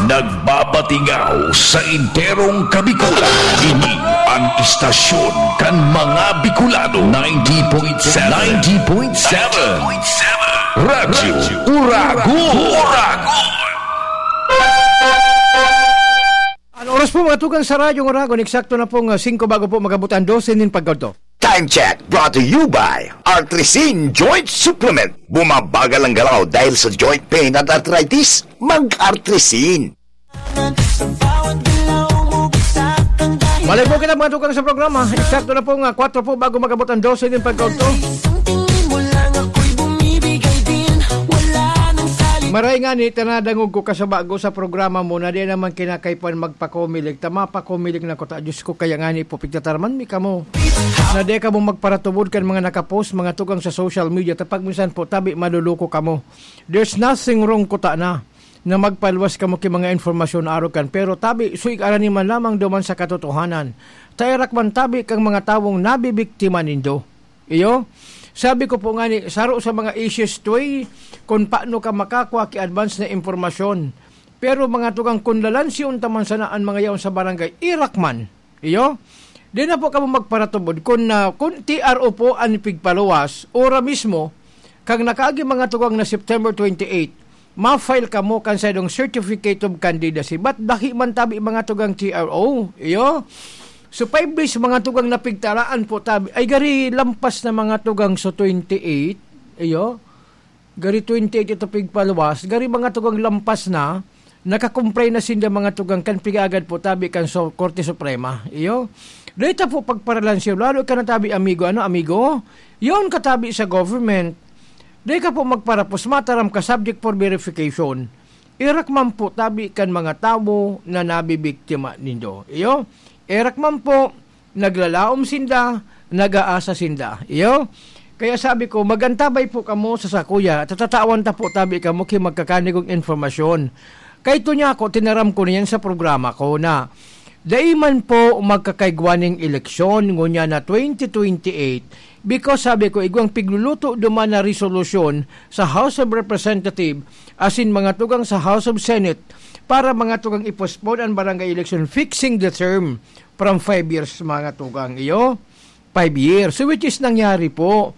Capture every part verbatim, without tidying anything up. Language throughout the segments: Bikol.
Nagbabatingaw sa enterong Kabikulan. Ini ang istasyon kan mga Bicolano, ninety point seven. ninety point seven. Radyo Uragon. Uragon. Ang oras po, mga tugang, sa Radyo Uragon, eksakto na pong, ah, singko bago po mag-abot ang dose nin pagkadto. Time check brought to you by Artrisin Joint Supplement. Bumabagal ang galaw dahil sa joint pain at arthritis? Mag-Artrisin. Malay po kita, mga tugang, sa programa. Eksakto na pong, ah, kwatro po bago mag-abot ang dose nin pagkadto. Maray nga ni, tanadangog ko ka sa bago sa programa mo na di naman kinakaipan magpakomilig. Tama, pakomilig na ko ta. Diyos ko, kaya nga ni po, pigtataraman mi kamo. Na di kamo magparatubod kan mga nakapost, mga tugang sa social media. Tapag minsan po, tabi, maluluko kamo. There's nothing wrong ko ta na, na magpaluwas kamo ki mga informasyon na arog kan. Pero tabi, suig arani man lamang duman sa katotohanan. Taerak man tabi kang mga tawong nabibiktima nindo. Iyo, sabi ko po nga ni, saro sa mga issues to eh, kung paano ka makakwa ki advance na impormasyon. Pero mga tugang, kun lalansiyon ta man sana an mga yaon sa barangay, erak man. Iyo, di na po kamo magparatubod. Kun, ah, kun T R O po an pigpaluwas, ora mismo, kang nakaagi mga tugang na September twenty-eight, ma-file kamo kan saindong Certificate of Candidacy. But dahi man tabi mga tugang T R O, iyo. So, five days, mga tugang, na pigtaraan po tabi. Ay, gari lampas na, mga tugang, so twenty-eight, iyo. Gari twenty-eight ito pigpaluwas. Gari, mga tugang, lampas na, nakakumpray na sinda, mga tugang, kan pig-agad po tabi kan so, Korte Suprema. Iyo. Data po pagparalan siya, lalo ka na tabi, amigo. Ano, amigo? Yon katabi sa government. Di ka po magparapos, mataram ka, subject for verification. Erak man po tabi kan mga tawo na nabibiktima nindo. Iyo, erak man po, naglalaom sinda, nag-aasa sinda. Iyo, kaya sabi ko, magantabay po kamo sa sakuya, tatatawan ta po tabi kamo ki magkakanigong informasyon. Kay to niya ako, tinaram ko niyan sa programa ko na dai man po magkakaigwa ning eleksyon ngunyan na twenty twenty-eight, because sabi ko, igwang pigluluto duman na resolusyon sa House of Representative asin mga tugang sa House of Senate para mga tugang i-postpone an barangay election, fixing the term from five years, mga tugang. Iyo, five years. So, which is nangyari po.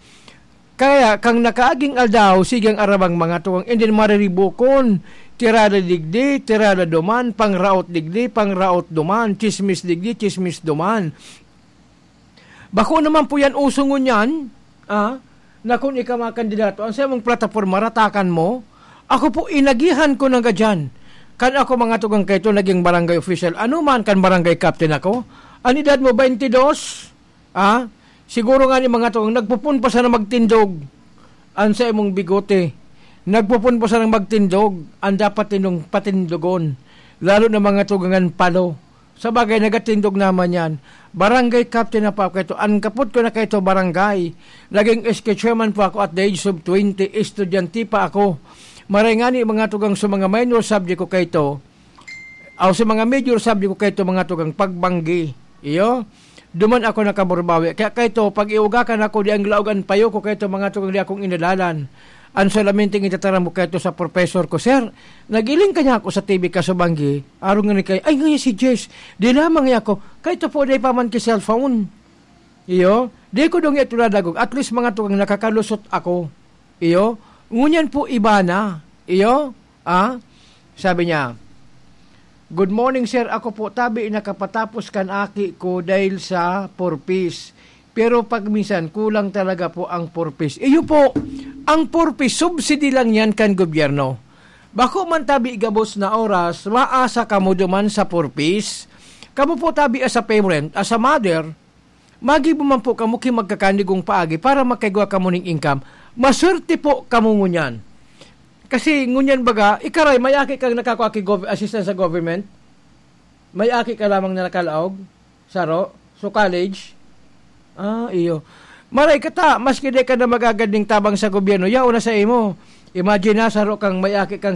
Kaya, kang nakaaging aldaw, sige ang arabang mga tugang, and then mariribukon, tirada digdi, tirada duman, pangraot digdi, pangraot duman, chismis digdi, chismis duman. Bako naman po yan uso ngunyan, ah, na kun ika makandidato, ang sa imong plataporma, ratakan mo. Ako po, inagihan ko na gadyan. Kan ako, mga tugang, kay ito, naging barangay official. Ano man, kan barangay captain ako? Ang edad mo, twenty-two? Ah? Siguro nga ni mga tugang, nagpupun pa sana magtindog. Ang sa imong bigote. Nagpupun pa sana magtindog. Ang dapat tinong patindogon. Lalo na mga tugangan palo. Sa bagay, nagatindog naman yan. Barangay captain na pa ako kaito. Ang kapot ko na kaito, barangay. Naging S K chairman po ako at the age of twenty. Estudyante pa ako. Maray nga ni mga tugang sa mga minor subject ko kaito. Aw sa mga major subject ko kaito, mga tugang, pagbanggi. Iyo? Duman ako nakaburbawi. Kaya kaito, pag iugakan ako, di ang laog an payo ko kaito, mga tugang, di akong inalalan. Ang solamente itataram ko kaito sa professor ko, "Sir, nagiling kanya ako sa T V kaso banggi." Arong nga ni kay, "Ay, ngayon si Jess." Di lamang niya ako, "Kaito po, di pa man ki cellphone." Iyo? Di ko dong ito nadagog. At least, mga tugang, nakakalusot ako. Iyo? Ngunyan po, iba na. Iyo? Ah? Sabi niya, "Good morning, sir. Ako po, tabi, nakapatapos kan aki ko dahil sa four Ps. Pero pag minsan, kulang talaga po ang four Ps." Iyo po, ang four Ps, subsidy lang yan kan gobyerno. Bako man tabi gabos na oras, maasa kamo duman sa four Ps. Kamo po tabi as a parent, as a mother, magibo man po kamo ki magkakanigong paagi para makaigwa kamo ning income. Maswerte po kamo ngunyan. Kasi ngunyan baga, ikaray, may aki kang nakakua ki gov-, assistance sa government? May aki ka lamang na nakalaog? Saro? So, college? Ah, iyo. Maray ka ta, maski di ka na magagad ning tabang sa gobyerno, yaon na sa imo. Imagine na, saro kang may aki kang